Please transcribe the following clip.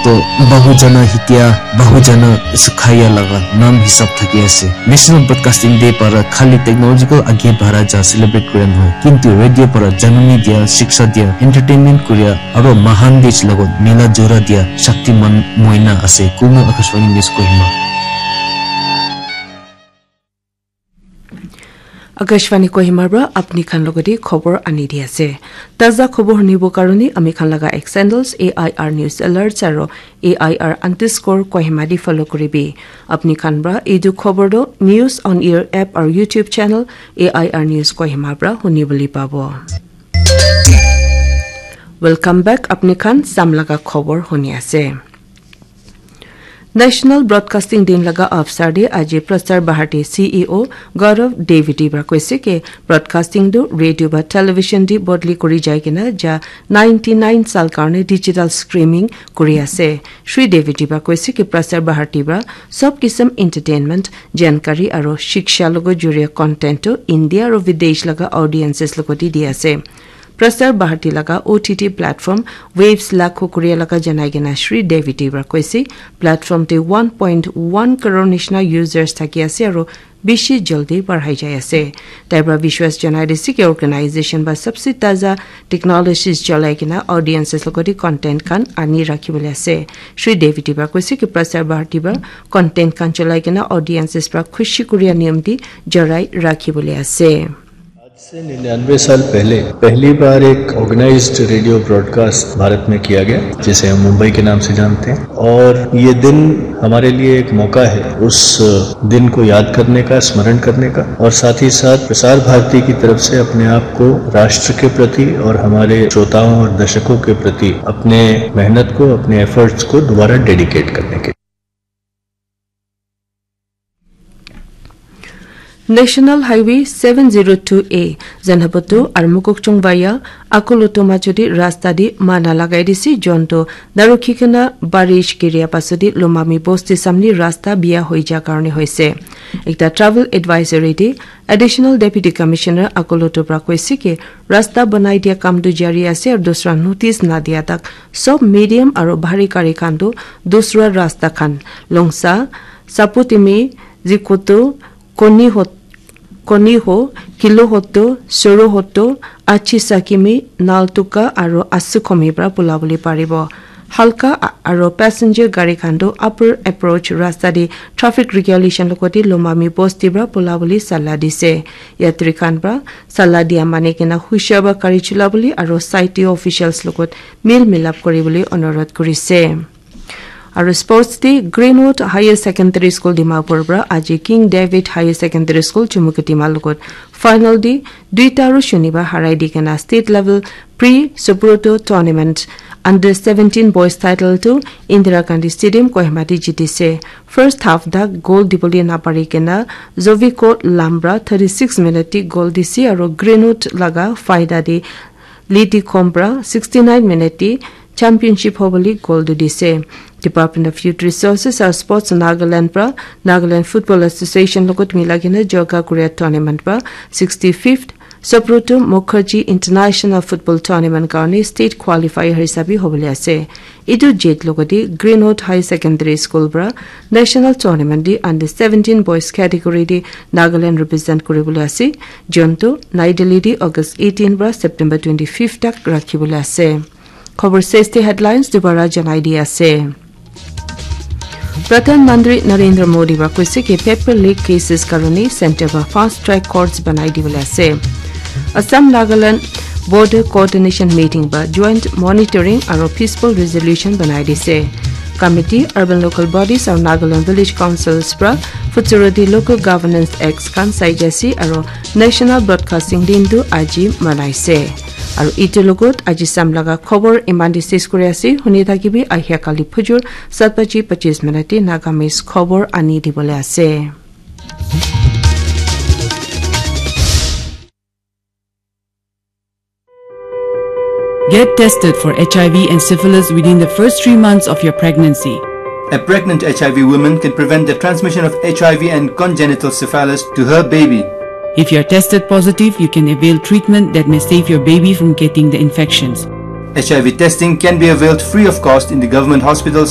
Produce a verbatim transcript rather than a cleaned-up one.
To Bahujana Hitya, Bahujana Sukhaya laga naam hisab thaki ase. National Broadcasting Day para khali technological age bhara ja celebrate kura nohoi, kintu radio para janani dia, shiksha dia, entertainment kuria, aro mahan dej logot mila jora dia shaktiman moina ase. Kumo Akashvani News Kohima. Akashvani Kohima pra apni khan logodi khobor ani di ase. Taza khobor hunibo karone ami khan laga X handles, A I R News Alerts aro A I R underscore Kohima di follow kuribi. Apni khan pra etu khobor do News on Air app aro YouTube channel A I R News Kohima pra huni bole pabo. Welcome back, apni khan sam laga khobor huni ase. National Broadcasting Din laga avsar te aji Prasar Bharati C E O Gaurav Dwivedi pra koise ke broadcasting tu radio ba television di bodli kuri jai kena ja ninety nine sal karne digital streaming kuri ase. Shri Dwivedi pra koise ke Prasar Bharati pra sob kisam entertainment, jankari aro shiksha logo juriya content tu India aro videsh laga audiences logo di di ase. Prasar Bharati laga O T T platform Waves lakho kuriya laga janai kena Shri Dwivedi pra koise, platform te one point one crore nishina users thaki ase aro bishi jaldi barhai jai ase. Tai pra vishwas janai dise ki organization ba sabse taza technologies cholai kena audiences logoti content khan ani rakhi bole ase. Shri Dwivedi pra koise ki Prasar Bharati pra content khan cholai kena audiences pra khushi kuriya niyam di jarai rakhi bole ase. आज से निन्यानवे साल पहले पहली बार एक ऑर्गेनाइज्ड रेडियो ब्रॉडकास्ट भारत में किया गया, जिसे हम मुंबई के नाम से जानते हैं। और ये दिन हमारे लिए एक मौका है उस दिन को याद करने का, स्मरण करने का, और साथ ही साथ प्रसार भारती की तरफ से अपने आप को राष्ट्र के प्रति और हमारे श्रोताओं और दर्शकों के प्रति अपने मेहनत को, अपने एफर्ट्स को दोबारा डेडिकेट करने के। National Highway seven zero two A, Zanapato aru Mokokchung via Akoloto majodi rasta di mana lagai dise, jonto darukhikena barish giria pasodi Lomami bosti samni rasta biya hoi ja karone hoise. Ekta travel advisory di Additional Deputy Commissioner Akoloto pra koise ki rasta banai dia kam tu jari ase aru dusra notice na dia tak sob medium aru bhari gari khan tu dusra rasta khan Longsa, Saputimi, Zikoto, Koniho, Koniho, Kilohoto, Sorohoto, Achisakimi, Naltuka aru Asukhomi pra pula bole paribo. Halka a-, aru passenger gari khan tu upper approach rasta te traffic regulation logoti Lomami bosti pra pula bole sala dise. Yatri khan pra sala dia mani kena hushar pra gari chula bole aru site te officials logot mil milap kuri bole onurodh kurise. Aru sports te Greenwood Higher Secondary School Dimapur pra aji King David Higher Secondary School Chumukedima logot final te duita aru shunibar harai di kena state level pre Subroto tournament under seventeen boys title tu Indira Gandhi Stadium Kohima te jitise. First half dak goal dibole napari kena Zoviko Lam pra thirty six minute te goal dise aru Greenwood laga faida te Liti Khom pra sixty nine minute te championship hobole goal tu dise. Department of Youth Resources and Sports Nagaland pra Nagaland Football Association logot mila kena joga kuria tournament pra sixty fifth Subroto Mukherjee International Football Tournament karone state qualifier hisabe hobole ase. Etu jit logote Greenwood High Secondary School pra national tournament di under seventeen boys category di Nagaland represent kuribole ase. Jonto Nai Delhi di August eighteen pra September twenty fifth tak rakhibole ase. Khobor seste headlines dubara janai di ase. Pradhan Mantri Narendra Modi ba koise ki paper leak cases karone center ba fast track courts banai dibole ase. Assam Nagaland Border Coordination Meeting ba joint monitoring aro peaceful resolution banai dise. Committee, urban local bodies aro Nagaland village councils pra Futuroti local governance acts khan saijasi aro National Broadcasting Din tu aji manaise. Aru itu logot aji sam laga khobor iman te ses kuri ase. Huni thakibi ahia kali phujur sat baji pachis minute te Nagamese khobor ani dibole ase. Get tested for H I V and syphilis within the first three months of your pregnancy. A pregnant H I V woman can prevent the transmission of H I V and congenital syphilis to her baby. If you are tested positive, you can avail treatment that may save your baby from getting the infections. H I V testing can be availed free of cost in the government hospitals